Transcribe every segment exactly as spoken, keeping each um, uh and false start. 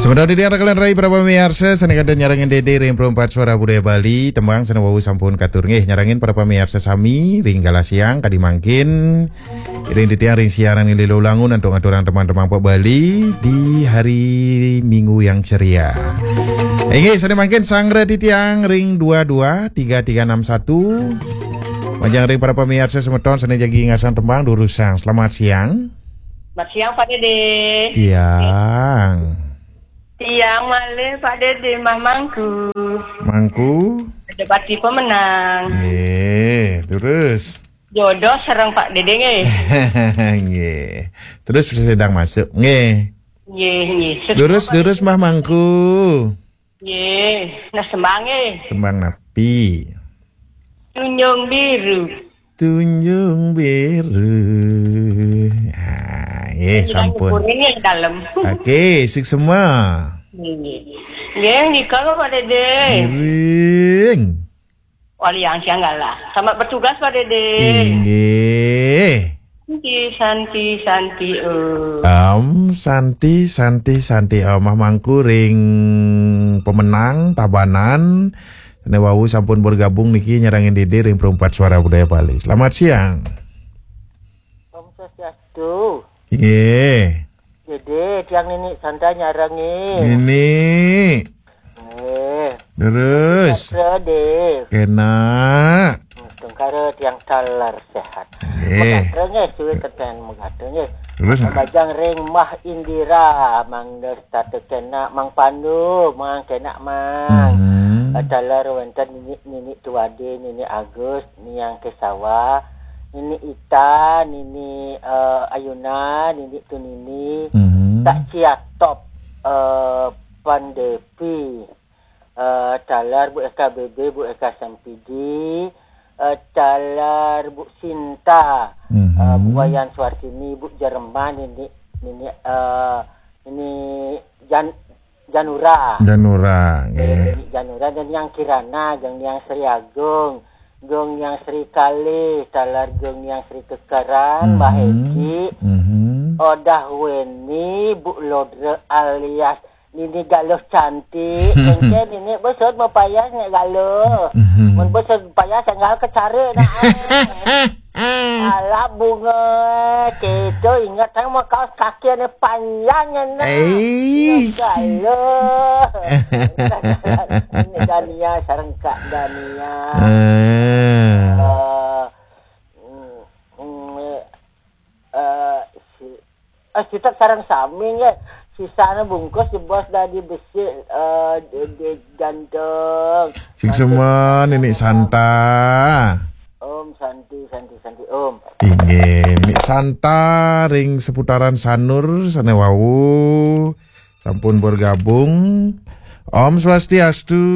Mudah-mudahan rekan rai para pamiarsa sané kantun nyarengin Dédé ring Perempat Suara Budaya Bali, tembang sané wau sampun katur nggih nyarengin para pamiarsa sami ring galah siang kadi mangkin. Ring titiang ring siaran Lilo Langun antuk ngaturang teman-teman Pak Bali di hari Minggu yang ceria. Inggih, sané mangkin sanggra titiang ring dua dua tiga tiga enam satu. Majeng ring para pamiarsa semeton sané jagi ngasang tembang durusang. Selamat siang. Selamat siang, Pak Dédé. Tiang. Tiang malih, Pak Dédé, Mbah Mangku. Mangku. Ada pati pemenang. Nggih, terus. Jodoh sareng Pak Dédé nggih. Nggih. Terus sedang masuk nggih. Nggih, nggih. Terus, terus Mbah Mangku. Nggih, nah sembang nggih. Tembang napi? Tunjung Biru. Tunjung Biru. Ah, nggih, sampun. Nggih, dalem. Oke, suksma. Nggih. Nggih, nika lho, Pak Dédé. Miring. Wali yang siang galah. Selamat bertugas, Pak Dédé. Inggih. Santi, santi, santi, eh. Om, santi, santi, santi, Om. Mah mangku ring pemenang, Tabanan. Né wau sampun bergabung niki nyarengin Dédé ring Perempat Suara Budaya Bali. Selamat siang. Om Swastiastu. Inggih. Dédé, tiang Nini Santa nyarengin. Nini. Nggih. Terus. Satra, Dé. Kénak. Tungkara tiang taler sehat. Nggih. Makasih nggih, suwi teten megata nggih. Terus, nah. Majeng ring Mah Indira, Mang Destata kénak, Mang Pandu, Mang kénak, Mang. Hmm. Taler wénten Nini, Nini Tuade, Nini Agus, Niang Kesawa, Nini Ita, Nini, eh, Ayuna, Nini Tunini, Hmm. Tak Ciatop, eh, Pandepi, eh, taler Bu Eka B B, Bu Eka Sempidi, eh, taler Bu Sinta, Mhm. eh, Bu Wayan Suartini, Bu Jerman, Nini, Nini, eh, Nini Jan-, Janura. Janura, eh, nggih. Nini Janura dan Yang Kirana, jeung Yang Sri Agung, jeung Yang Sri Kalih, taler jeung Yang Sri Kekeran, Mhm. Mbah Egi, Mhm. Odah Weni, Bu Lodre alias Nini Galuh cantik. Engké Nini besut mapayas nya galuh. Mhm. Mun besut payas enggal kecara nah. Alah bunga kéto inget aing mah kaos kaki ané panjang nya nah. Eh. Nya galuh. Nini Dania sareng Kak Dania. Eh. Eh, mm, mm, eh, si Eh, kita sareng sami nggih. Sisana bungkus jebos dadi besi, eh, di, di jantung. Sing semua Nini Santa. Om Santi, Santi, Santi, Om. Inggih, Nini Santa ring seputaran Sanur sané wau sampun bergabung. Om Swastiastu.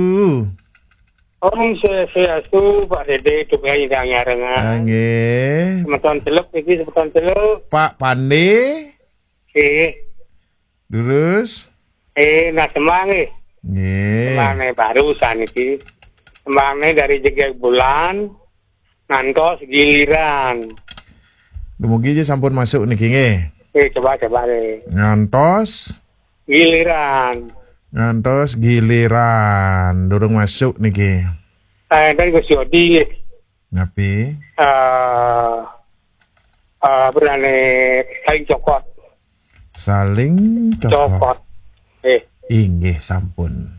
Om Swastiastu, Pak Dédé, tunggal nyidang nyarengan. Ah, nggih. Semeton Teluk niki, semeton Teluk. Pak Pande. Nggih. Terus? Eh, nah, tembang nggih. Nggih. Tembangné barusan niki. Tembangné dari Jegég Bulan, ngantos giliran. Dumugi aja sampun masuk niki nggih. Eh, coba, coba deh. Ngantos? Giliran. Ngantos giliran. Durung masuk niki. Eh, dari Gus Yodi. Napi? Eh, eh, berani saling cokot. Saling cokot. Cokot. Eh. Inggih, sampun.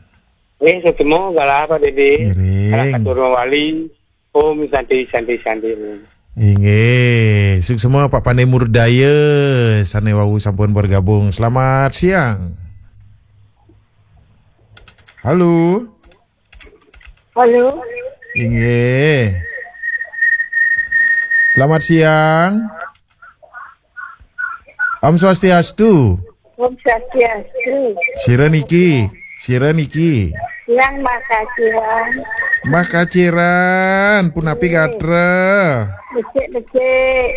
Eh, ketemu, galah apa, Dédé? Ngiring. Galah katur mawali. Om Santi, Santi, Santi, Om. Inggih, suksma Pak Pandé Murdaya sané wau sampun bergabung. Selamat siang. Halo. Halo. Inggih. Selamat siang. Om Swastiastu. Om Swastiastu. Sira niki, sira niki. Yang Mbah Kaciran. Mbah Kaciran, punapi gatra? Becik-becik.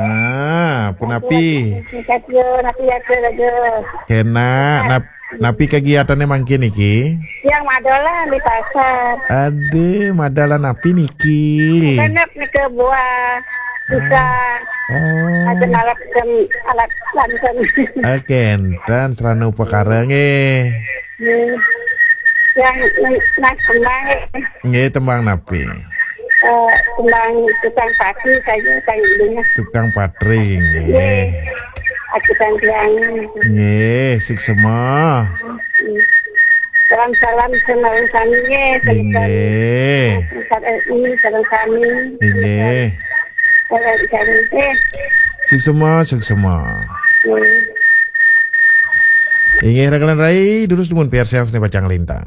Ah, punapi? Napi gatra, napi gatra, gatra. Kénak, nap-, napi kegiatannya mangkin niki? Yang madolan di pasar. Aduh, madolan napi niki? Kenep nika buah. Bisa. Ah. Ada alat kan, alat lanten. Oke, dan serana upakara nggih. Nggih. Yang nak tembang, eh, Nggih, tembang napi? Eh, tembang tukang patri saja, saya intinya. Tukang patri nggih. Nggih. Aku tanggiang. Nggih, suksema. Salam-salam sami nggih, salam-salam. Nggih. Salam sami, salam sami. Nggih. Salam sami nggih. Suksema, suksema. Nggih. Inggih, rakalan rai, durus dumun piarsayang sane pacang lintang.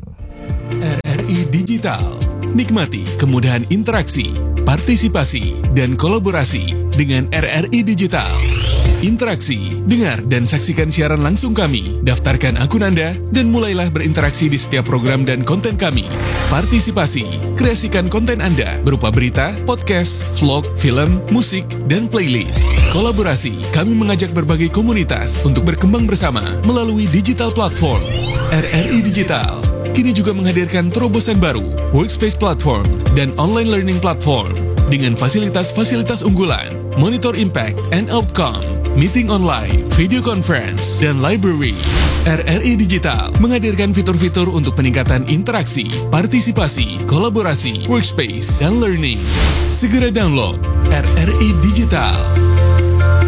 R R I Digital. Nikmati kemudahan interaksi, partisipasi, dan kolaborasi dengan R R I Digital. Interaksi, dengar, dan saksikan siaran langsung kami. Daftarkan akun Anda dan mulailah berinteraksi di setiap program dan konten kami. Partisipasi, kreasikan konten Anda berupa berita, podcast, vlog, film, musik, dan playlist. Kolaborasi, kami mengajak berbagai komunitas untuk berkembang bersama melalui digital platform. R R I Digital kini juga menghadirkan terobosan baru, Workspace Platform dan Online Learning Platform, dengan fasilitas-fasilitas unggulan, Monitor Impact and Outcome, meeting online, video conference, dan library. R R I Digital menghadirkan fitur-fitur untuk peningkatan interaksi, partisipasi, kolaborasi, workspace, dan learning. Segera download R R I Digital.